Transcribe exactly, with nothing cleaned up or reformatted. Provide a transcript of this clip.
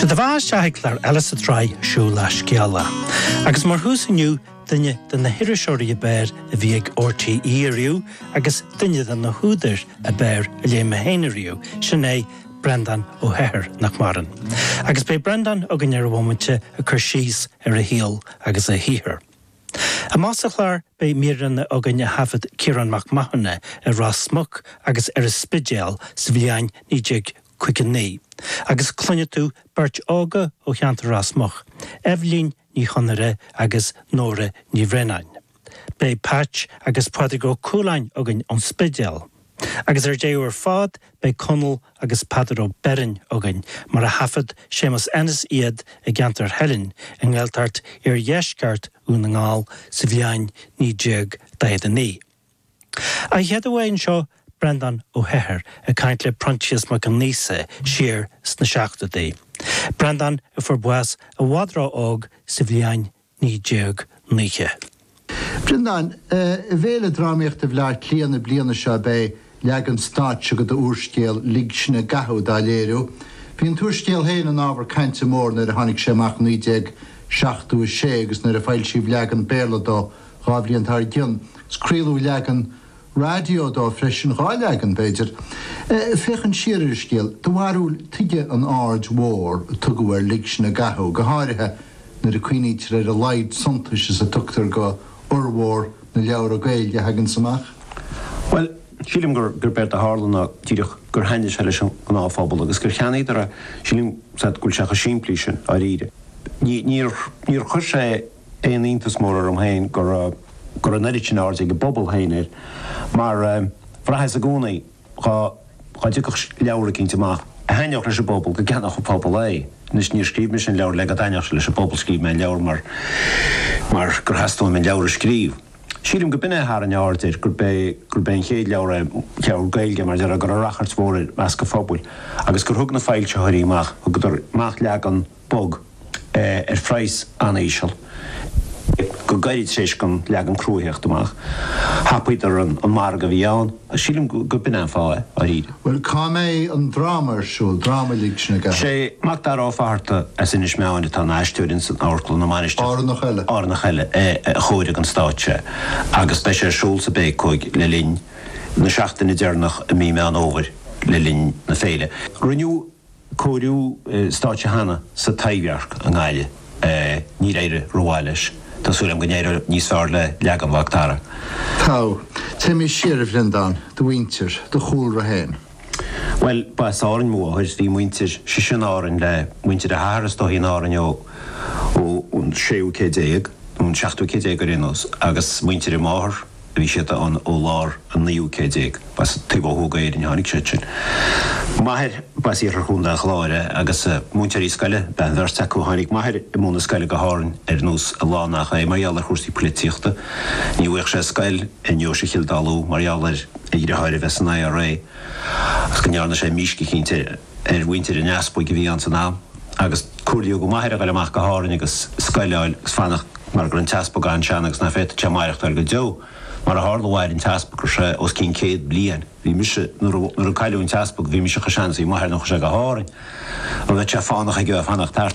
Sé do bheatha isteach ag clár eile sa tsraith Siúil le Scéala. Agus mar thús inniu duine de na hiriseoirí ab fhearr a bhí ag RTÉ ariamh agus duine de na húdair ab fhearr a léigh mé féin ariamh, sin é Breandán Ó hEithir nach maireann. Agus beidh Breandán againn ar bhomaite ag cur síos ar a shaol agus a shaothar. Amach sa chlár beidh míreanna againn a thaifead Ciarán Mac Mathúna ar Ros Muc agus ar an Spidéal sa bhliain naoi déag caoga naoi. Agus cluinfidh tú beirt óga ó cheantar Ros Muc, Eibhlín Ní Chonaire agus Nóra Ní Bhraonáin. Beidh Patch agus Pádraig Ó Cualáin againn ón Spidéal. Agus ar deireadh ar fad beidh Conall agus Peadar Ó Beirn againn mar a thaifead Séamus Ennis iad i gceantar Theilinn i nGaeltacht iardheisceart Dhún na nGall sa bhliain naoi déag daichead a naoi. An chéad uair anseo Breandán Ó hEithir ag caint le Proinsias Mac Aonghusa siar sna seachtóidí. Breandán a fuair bás i bhfad ró-óg sa bhliain naoi déag nócha. Breandán, i bhFéile Drámaíochta Bhaile Átha Cliath na bliana seo beidh leagan stáitse de d'úrscéal Lig Sinn i gCathú dá léiriú. Bhí an t-úrscéal féin ina ábhar cainte mór nuair a tháinig sé amach naoi déag seachtó a sé agus nuair a foilsíodh leagan Béarla dó dhá bhliain dár gcionn. Is craoladh leagan raidió dó freisin dhá leagan b'fhéidir. Féachaint siar ar an scéal, do bharúil tuige an aird mhór a tugadh ar Lig Sinn i gCathú, go háirithe nuair a cuimhnítear ar a laghad suntais is a tugtar go fhormhór na leabhra Gaeilge a thagann amach? Well, sílim gur gur b'éard a tharla ná díreach gur thaitnigh sé leis an ngnáthphobal agus gur cheannaíodar é sílim go bhfuil sé chomh simplí sin dáiríre. Níor níor chuir sé aon iontas mór orm féin gur gur an oiread sin aird ag an bpobal féin air mar bhraitheas i gcónaí dá dá dtiocfadh leabhar eicínt amach a thaitneodh leis an bpobal go gceannódh an pobal é. Anois níor scríobh mise an leabhar le go dtaitneodh sé leis an bpobal scríobh mé an leabhar mar mar gur theastaigh uaim an leabhar a scríobh. Sílim go b'in é a tharraing aird air gurb é gurb é an chéad leabhar é leabhar Gaeilge mar deir go raibh rachairt mhór i measc an phobail agus gur thug na foilsitheoirí amach thugadar amach leagan bog ar phraghas an-íseal. Go gairid tar éis don leagan crua theacht amach. Thapaíodar an an margadh a bhí ann. Sílim go b'in an fáth é, dáiríre. Bhuel cá mbeidh an dráma ar siúl, dráma Lig Sinn i gCathú? Sé Mac Dara Ó Fatharta as Inis Meáin atá ina aisteoir ins an Amharclann na Mainistreach. Árannach eile. Árannach eile a chóirigh an stáitse agus beidh sé ar siúl sa Bhécóig le linn na seachtaine deireanach i mí Meán Fhómhair le linn na féile. Rinneadh cóiriú stáitse cheana sa Taibhdhearc i nGaillimh. Níor éirigh rómhaith leis. Tá súil agam go n-éireoidh níos fearr le leagan Mhac Dara. Tá. Téimis siar a Bhreandáin, do mhuintir, do chúlra féin. Bhuel, ba as Árainn mo mháthair. Bhí muintir sise in Árainn le muintir a hathar is dóichí in Árainn ó ón séú céad déag, nó an seachtú céad déag ar aon nós, agus muintir a máthar, Bhí siad ann ó lár an naoú céad déag. Ba as taobh ó thuaidh d'Éirinn a tháinig siad sin. M'athair, ba as iarthar Chontae an Chláir é agus múinteoirí scoile ab ea an bheirt acu. Tháinig m'athair i mbun na scoile go hÁrainn ar nós a lán nach é mar gheall ar chúrsaí poilitíochta. Ní bhfaigheadh sé scoil i ndeoise Chill Dá Lú mar gheall ar a dheartháir a bheith san IRA agus go ndearna sé mísc eicínt ar mhuintir an easpaig a bhí ann san am agus comhairlíodh do m'athair a ghoil amach go hÁrainn agus scoil a fháil agus fanacht mar go raibh an t-easpag an-sean agus ná féadfadh sé maireachtáil go deo. Mar a tharla mhair an t-easpag go raibh sé os cionn céad bliain. Bhí mise, nuair a nuair a cailleadh an t-easpag, bhí mise chomh sean is a bhí m'athair nuair a chuaigh sé go hÁrainn. An bheadh sé fánach aige a bheith ag fanacht thart?